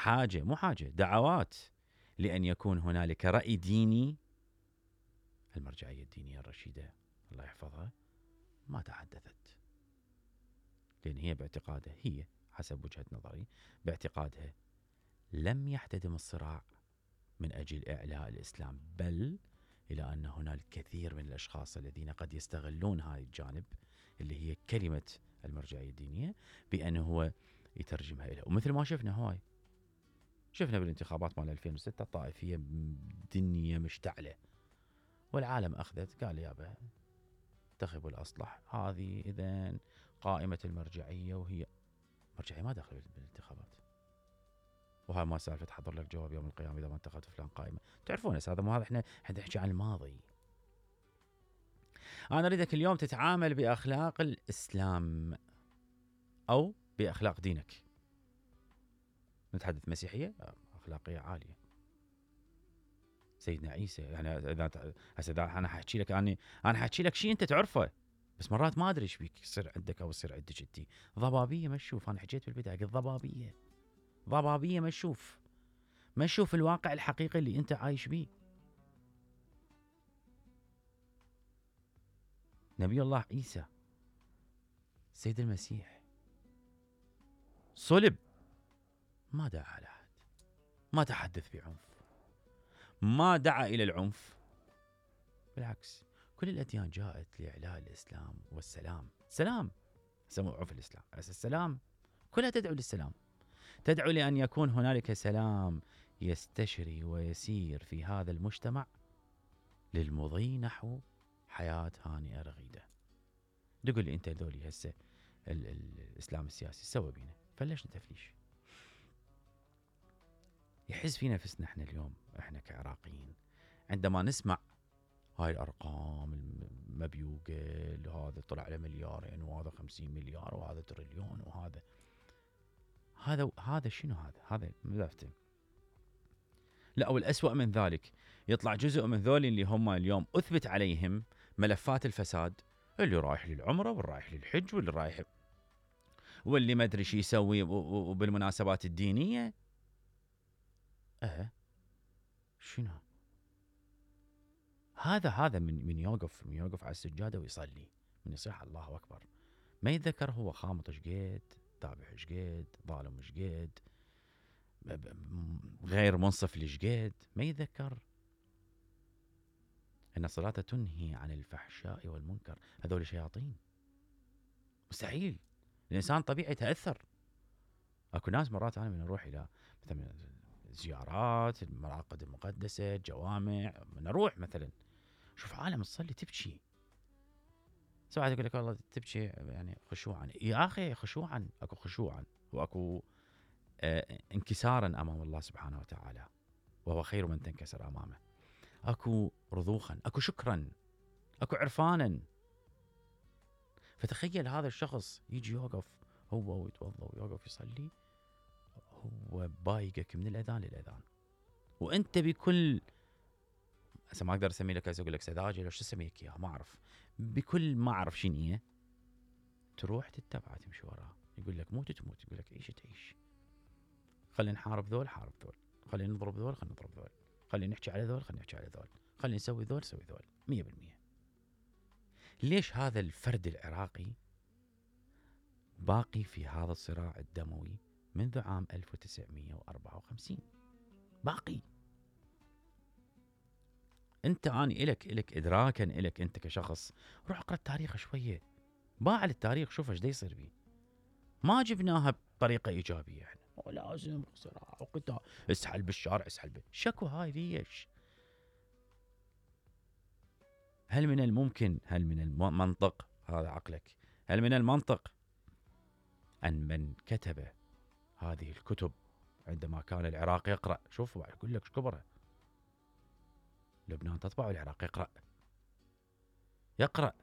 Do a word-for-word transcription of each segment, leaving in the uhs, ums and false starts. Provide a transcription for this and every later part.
حاجة مو حاجة دعوات لأن يكون هنالك رأي ديني، المرجعية الدينية الرشيدة الله يحفظها ما تحدثت، لأن هي باعتقادها، هي حسب وجهة نظري باعتقادها لم يحتدم الصراع من أجل إعلاء الإسلام، بل إلى أن هناك كثير من الأشخاص الذين قد يستغلون هذا الجانب اللي هي كلمة المرجعية الدينية بأنه هو يترجمها إليه. ومثل ما شفنا هواي، شفنا بالانتخابات مال ألفين وستة الطائفية دنيا مشتعلة، والعالم أخذت قال يابا انتخبوا الأصلح، هذه إذن قائمة المرجعية، وهي مرجعية ما داخل بالانتخابات. وهاي ما سالفة حضر لك جواب يوم القيامة إذا ما انتخبت فلان قائمة، تعرفون هذا مو هذا، احنا احنا نحكي عن الماضي. أنا أريدك اليوم تتعامل بأخلاق الإسلام أو بأخلاق دينك. نتحدث مسيحية أخلاقية عالية، سيدنا عيسى، يعني إذا هسه أنا حاحكي لك أنا أنا حاحكي لك شيء أنت تعرفه، بس مرات ما أدري إيش بيك يصير عندك أو يصير عندك أنت. ضبابية ما تشوف، أنا حكيت بالبداية قلت ضبابية ضبابية ما تشوف ما تشوف الواقع الحقيقي اللي أنت عايش بيه. نبي الله عيسى سيد المسيح صلب، ما دعا على أحد، ما تحدث بعنف، ما دعا إلى العنف، بالعكس كل الأديان جاءت لإعلاء الإسلام والسلام. سلام سموا عنف الإسلام، السلام كلها تدعو للسلام، تدعو لأن يكون هنالك سلام يستشري ويسير في هذا المجتمع للمضي نحو حياة هانئة رغيدة. تقول لي أنت ذولي هسه الإسلام السياسي سوى بينا، فليش نتفليش؟ يحز في نفسنا احنا اليوم، احنا كعراقيين عندما نسمع هاي الأرقام المبيوقة، هذا طلع على مليارين وهذا خمسين مليار وهذا تريليون وهذا هذا هذا شنو هذا؟ هذا مذافتة. لا، والأسوأ من ذلك يطلع جزء من ذولي اللي هم اليوم أثبت عليهم ملفات الفساد، اللي رايح للعمرة واللي رايح للحج واللي رايح واللي ما أدري شو يسوي وبالمناسبات الدينية. أه شنو هذا؟ هذا من من يوقف من يوقف على السجادة ويصلي، من يصيح الله أكبر، ما يتذكر هو خامط شقد، ذابح شقد، ظالم شقد، غير منصف لشقد، ما يتذكر أن الصلاة تنهي عن الفحشاء والمنكر. هذول شياطين، مستحيل الإنسان طبيعي يتأثر. أكو ناس مرات أنا من أروح إلى مثلا زيارات المراقد المقدسة، جوامع، من أروح مثلا شوف عالم تصلي تبكي، سواء يقول لك والله تبكي يعني خشوعا، يا أخي خشوعا، أكو خشوعا وأكو آه انكسارا أمام الله سبحانه وتعالى، وهو خير من تنكسر أمامه. أكو رضوخا، أكو شكرا، أكو عرفانا. فتخيل هذا الشخص يجي يوقف هو ويتوضا ويوقف يصلي، هو بايقك من الأذان للأذان، وأنت بكل هسه ما أقدر أسمي لك، أقول لك سذاجة، ليش تسميك إياها ما أعرف، بكل ما أعرف شنو هي، تروح تتبع تمشي وراها، يقول لك موت تموت، يقول لك عيش تعيش، خلينا نحارب ذول حارب ذول، خلينا نضرب ذول خلينا نضرب ذول، خلينا نحكي على ذول خلينا نحكي على ذول، خلينا نسوي ذول نسوي ذول، مية بالمية. ليش هذا الفرد العراقي باقي في هذا الصراع الدموي منذ عام ألف وتسعمية وأربعة وخمسين؟ باقي. انت اني الك الك ادراكا الك انت كشخص، روح اقرا التاريخ شويه، باع التاريخ، شوف ايش دا يصير بيه. ما جبناها بطريقه ايجابيه احنا، لازم صراع وقتال، اسحل بالشارع اسحل به. شكو هاي ليش؟ هل من الممكن، هل من المنطق، هذا عقلك، هل من المنطق ان من كتب هذه الكتب عندما كان العراق يقرأ، شوف يقول لك كبره، لبنان تطبع والعراق يقرأ يقرأ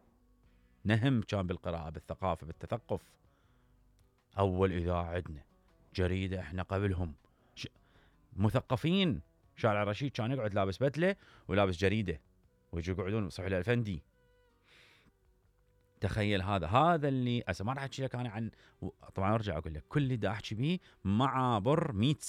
نهم كان بالقراءة بالثقافة بالتثقف. أول إذاعة عندنا، جريدة إحنا قبلهم، ش... مثقفين. شارع الرشيد كان يقعد لابس بدلة ولابس جريدة ويجوا يقعدون صحيح الأفندي. تخيل هذا هذا اللي أسا ما راح أحكي لك أنا عن، طبعا أرجع أقول لك كل اللي دا أحكي به مع عبر مئة